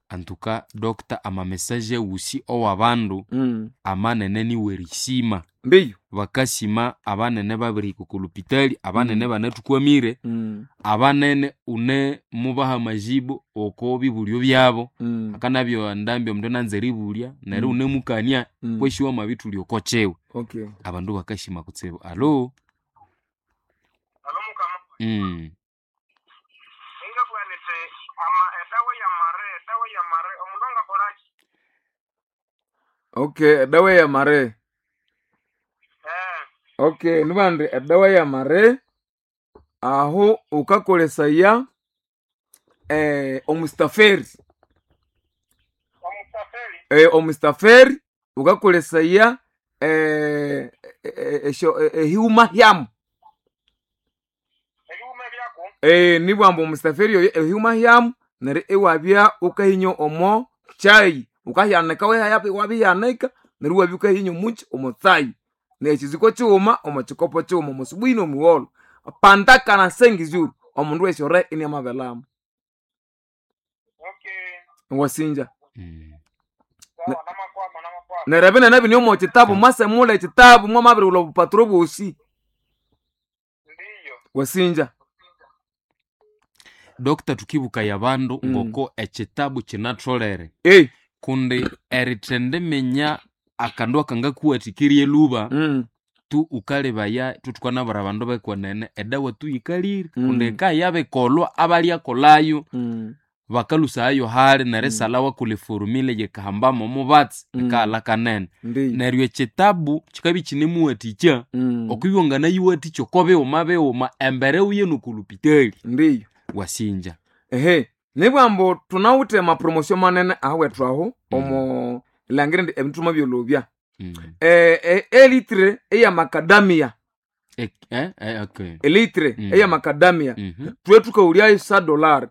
Antuka doctor, amamessage awusi owabandu amanene niwerisima. Mbiyo. Bakasima abanene babirihika oko lupitali, abanene banathukwamire, abanene une mubaha amajibu oko bibulyo byabo. Akanabya ndambi omundu ananza eribulya neryo unemukania kwesi wamabithulya oko kyiwe. Okay. Abandu bakasima kutsibu. Alo. Alo mukama. Ingabugha niti ama edawa yamare, edawa yamare omundu angakolaki? Okay, edawa yamare. Okay, nibandi edawa yamare aho ukakolesaya omustaferi. Omustaferi? Omustaferi ukakolesaya ehiuma hyamu. Ebiwuma byako? Nibwamba omustaferi oyo ehiuma hyamu neryo iwabya ukahinya omo chai, ukahyanika wabiyanika neryo iwabya ukahinya omuki omo tsai, nekiziko kighuma omo kikopo kighuma omo subuhi nomugholo pandakana sengizuru omundu wesyo iniamabelama. Okay. Wasinja. Sawa, namakwama, namakwama. Neryo ebinene bini omo kitabu mwasemula ekitabu mwamabirighulha obupaturo bwosi. Ndiyo. Wasinja. Doctor, tukibukaya abandu ngoko ekitabu kinatholere kundi erithendiminya akandu akangakuwathikirya eluba tu ukalebaya thukanabwira abandu bekwenene edawa tu yikalire kundi ekayabikolwa abalyakolhayo bakalusayayo hali nerisalha wakolha eforumile yikahambamo omubatsi ikaghalha kanene. Ndiyo. Neryo ekitabu kikabya ikinemuwathikya okwibya wanganayiwathikya oko bighuma bighuma embere wuye noko lupitali. Ndiyo. Wasinja. Ehe, nibwambu thunawithe amapromotion manene ahawethu aho omo langira indi ebindu thwamabyolobya. Elitre eya macadamia. Okay. Elitre eya macadamia. Thwe thukaghulyayo sa dollar.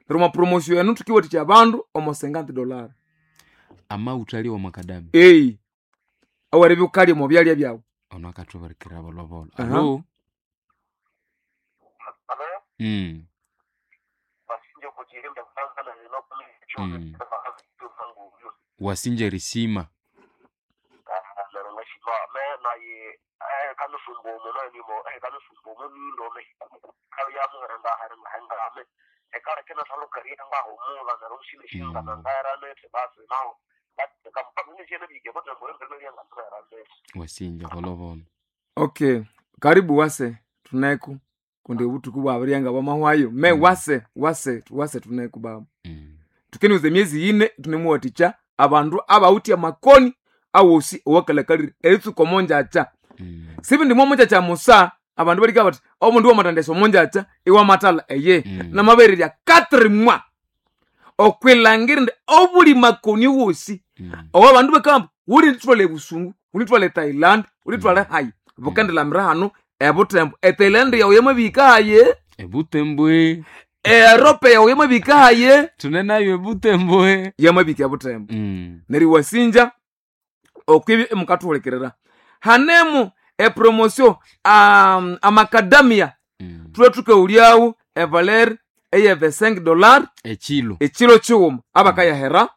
Neryo omwa promotion eno thukiwathikya abandu omo $50. Amawutha ali wa macadamia. Aweribya wukalya omo byalya byawu. Ono akathubirikira bolobolo. Aha. Alo. Alo? Wasinja kuchirimba kwanza Wasinja erisima. Wasinja bolobolo. Okay, karibu wase tuneku kundi obuthuku bwabirya bwamahwayo me wase wase wase tuneku baba. Tukeniuza emyezi yine tunemuwathikya abandu abawithe amakoni awosi owakalakalire eritsuka omonjacha. Sibindi mwomonjacha musa abandu balika bathi omundu wamathandesa omonjacha iwamathalha eye. Namabererya 4 mois okwilhangira indi obuli makoni wosi owa abandu bakamba wulithwala ebusungu, wulithwala eThailand, wulithwala hayi bukendilamira hano ebutembo. EThailand yawu yamabihika haye, Ebutembwe. eEurope yawu yamabihika haye, Thune nayo ebutembwe. yamabihika ebutembo. Neryo iwasinja okwibya imukathuhulikirira hanemu epromotion amakadamia thulwe thukaghulyawo evaler eye $5 Ekilo. ekilo kighuma abakayahera.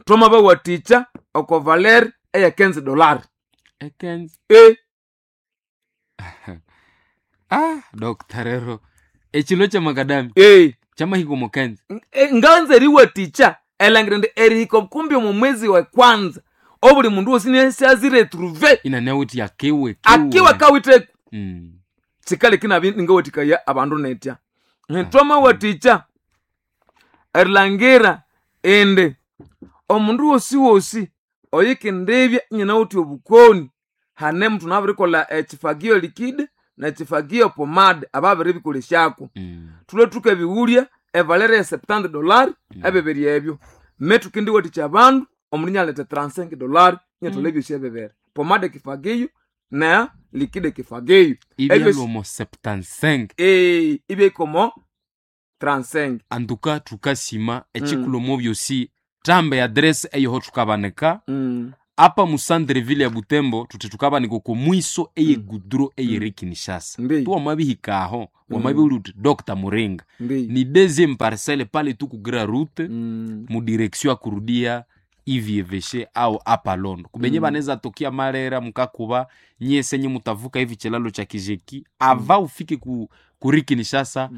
Thwamabawathikya oko valer eye $15. Ekenzi. Doctor rero ekilo kyamakadamia kyamahika omo kenzi. Nganza eriwathikya elangira indi erihika kumbi omo mwezi wa kwanza obuli mundu wosi nisiaziretruve inanawuthi akiwe akiwe kawitheko. Kikaleka inabya ingawathikaya abandu netya. Thwamawathikya erilhangira indi omundu wosi wosi oyikendibya inyanawithe obukoni hanemu thunabirikolha ekifagio liquide nekifagio pomade ababiribikolesyako. Thulwe thukabighulya evalere ye $70 ebibiri ebyo. Me thukendiwathikya abandu omundu inyaletha $35 inyathwala ebyosi ebibiri. Pomade kifagio na liquide kifagio. Ibyalwa omo 75. Ibyahika 35. Antuka thukasima ekikulhu omo byosi tamba eadress eyoho thukabanika. Apa mu centre-ville ya Butembo tuthi tukabanika oko mwiso eye goudron eyeri Kinshasa. Ndi. Tu wamabihika aho, wamabihulya uthi Dr. Muringa. Ndi. Ni deuxième parcelle pale tu ku grand route mu direction ya kurudia ivieveshe au apa Londo. Kubenye baneza tokia Malera mukakuba nyese nye mutavuka hivi chilalo cha Kijeki ava ufike ku kuri Kinshasa.